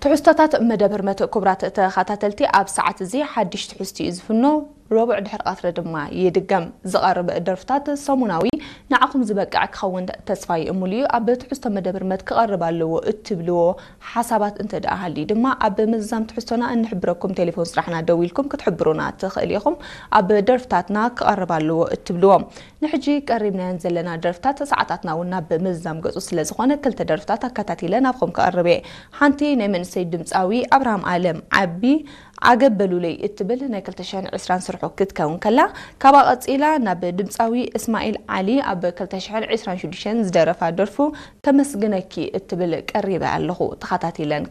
ትሕዝቶታት መደብ ህርመት ክቡራት ተኸታተልቲ፣ ኣብ ሰዓት እዚ ሓድሽ ትሕዝቲ እዩ ዝፍኖ። ረቡዕ ድሕሪ ቀትሪ ድማ ይድገም። ዝቐርብ ደርፍታት ሰሙናዊ ንዓኹም ዝበቅዕ ክኸውን ተስፋ ይእሙል እዩ። ኣብ ትሕዝቶ መደብ ህርመት ክቐርብ ኣለዎ እትብልዎ ሓሳባት እንተ ደኣ ሃልዩ ድማ ኣብ ምዝዛም ትሕዝቶና እንሕብረኩም ቴሌፎን ስራሕና ደዊልኩም ክትሕብሩና ትኽእል ኢኹም። ኣብ ደርፍታትና ክቐርብ ኣለዎ እትብልዎ ንሕጂ ቀሪብናየን ዘለና ደርፍታት ሰዓታትና እውን ናብ ምዝዛም ገጹ ስለ ዝኾነ ክልተ ደርፍታት ኣከታቲለ ናብኹም ክቐርብ እየ። ሓንቲ ናይ መንእሰይ ድምፃዊ ኣብርሃም ኣለም ዓቢ ኣገበሉለይ እትብል ናይ ክልተ ሽሕን ዕስራን ስርሑ ክትከውን ከላ፣ ካብኣ ቀጺላ ናብ ድምፃዊ እስማኤል ዓሊ ኣብ ክልተ ሽሕን ዕስራን ሽዱሽተን ዝደረፋ ደርፉ ከመስግነኪ እትብል ቀሪበ ኣለኹ። ተኸታቲለን